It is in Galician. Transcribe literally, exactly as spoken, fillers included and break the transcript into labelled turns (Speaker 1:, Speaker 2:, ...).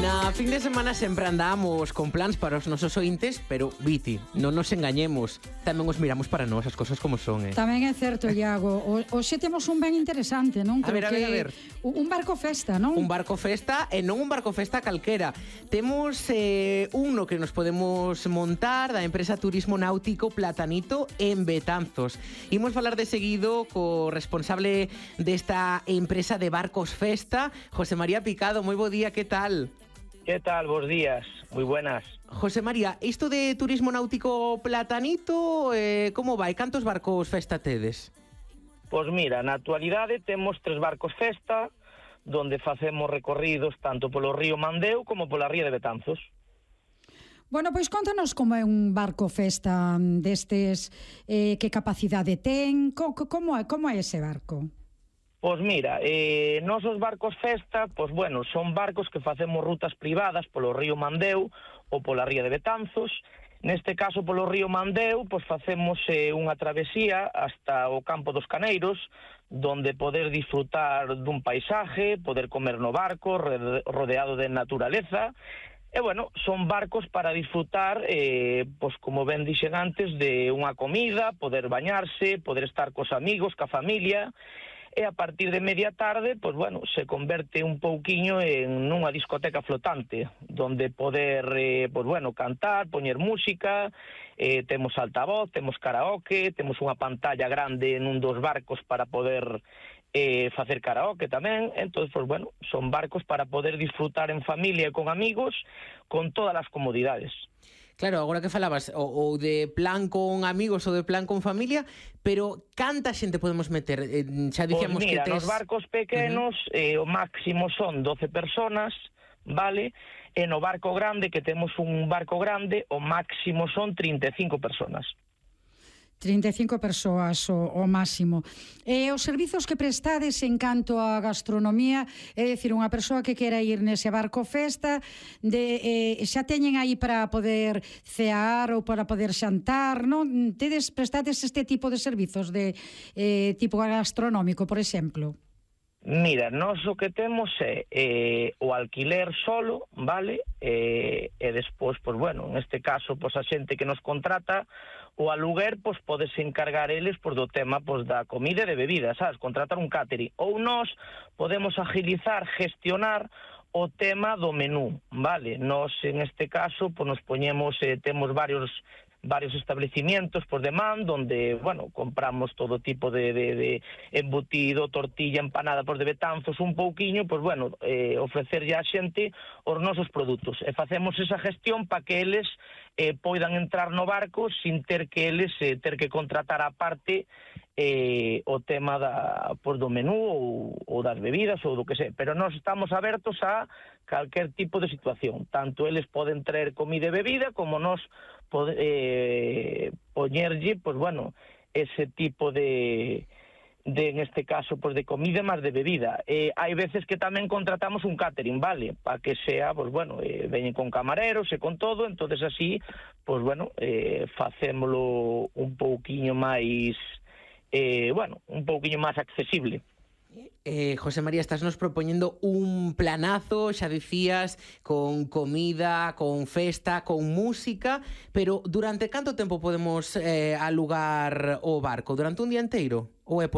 Speaker 1: Na fin de semana sempre andamos con plans para os nosos ointes, pero, Viti, non nos engañemos, tamén os miramos para nós, as cosas como son, eh?
Speaker 2: Tamén é certo, Iago. Hoxe temos un ben interesante, non?
Speaker 1: A ver, a ver, a ver.
Speaker 2: Un barco festa, non?
Speaker 1: Un barco festa, e non un barco festa calquera. Temos eh, un no que nos podemos montar da empresa Turismo Náutico Platanito en Betanzos. Imos falar de seguido co responsable desta empresa de barcos festa, José María Picado. Moi bo día, que tal?
Speaker 3: ¿Qué tal? Bos días, moi buenas.
Speaker 1: José María, isto de Turismo Náutico Platanito, eh, como vai? Cantos barcos festa tedes?
Speaker 3: Pois mira, na actualidade temos tres barcos festa, donde facemos recorridos tanto polo río Mandeo como pola ría de Betanzos.
Speaker 2: Bueno, pois contanos como é un barco festa destes, eh, que capacidade ten, co, como é, como é ese barco?
Speaker 3: Pois mira, eh, nosos barcos festa, pois bueno, son barcos que facemos rutas privadas polo río Mandeo ou pola ría de Betanzos. Neste caso, polo río Mandeo, pois facemos eh, unha travesía hasta o campo dos Caneiros, donde poder disfrutar dun paisaje, poder comer no barco, rodeado de naturaleza. E, bueno, son barcos para disfrutar, eh, pois como ben dixen antes, de unha comida, poder bañarse, poder estar cos amigos, ca familia. E a partir de media tarde, pois bueno, se converte un pouquiño en unha discoteca flotante, donde poder, eh, pois bueno, cantar, poñer música, eh, temos altavoz, temos karaoke, temos unha pantalla grande nun dos barcos para poder eh, facer karaoke tamén. Entón, pois bueno, son barcos para poder disfrutar en familia e con amigos, con todas as comodidades.
Speaker 1: Claro, agora que falabas ou, ou de plan con amigos ou de plan con familia, pero canta xente podemos meter? Eh, xa dicíamos
Speaker 3: pues mira,
Speaker 1: que tes...
Speaker 3: nos barcos pequenos uh-huh. eh, o máximo son doce personas, vale? E no barco grande, que temos un barco grande, o máximo son trinta e cinco personas.
Speaker 2: trinta e cinco persoas o, o máximo. E os servizos que prestades en canto a gastronomía, é dicir, unha persoa que quera ir nese barco festa, de, eh, xa teñen aí para poder cear ou para poder xantar, non? Tedes, prestades este tipo de servizos de eh, tipo gastronómico, por exemplo?
Speaker 3: Mira, nós o que temos é eh, o alquiler solo, vale? Eh, e despois, pois bueno, neste caso, pois a xente que nos contrata, o aluguer, pois podes encargar eles pois, do tema pois, da comida e de bebida, sabes? Contratar un catering. Ou nós podemos agilizar, gestionar o tema do menú, vale? Nós, en este caso, pois nos poñemos, eh, temos varios varios establecimientos por demanda, donde, bueno, compramos todo tipo de, de, de embutido, tortilla, empanada por de Betanzos, un pouquiño, pois, bueno, eh, ofrecerlle a xente os nosos produtos. E facemos esa gestión para que eles eh, poidan entrar no barco sin ter que eles eh, ter que contratar a parte eh, o tema da, pois, do menú ou, ou das bebidas ou do que sei. Pero nós estamos abertos a calquer tipo de situación. Tanto eles poden traer comida e bebida, como nós pode, eh, poñerlle, pois bueno, ese tipo de, de en este caso, pois de comida máis de bebida. Eh, hai veces que tamén contratamos un catering, vale? Para que sea, pois bueno, eh, veñen con camareros e con todo, entonces así, pois bueno, eh, facémolo un pouquiño máis, eh, bueno, un pouquiño máis accesible.
Speaker 1: Eh, José María, estás nos propoñendo un planazo, xa dicías, con comida, con festa, con música, pero durante canto tempo podemos eh, alugar o barco? Durante un día inteiro? Ou é por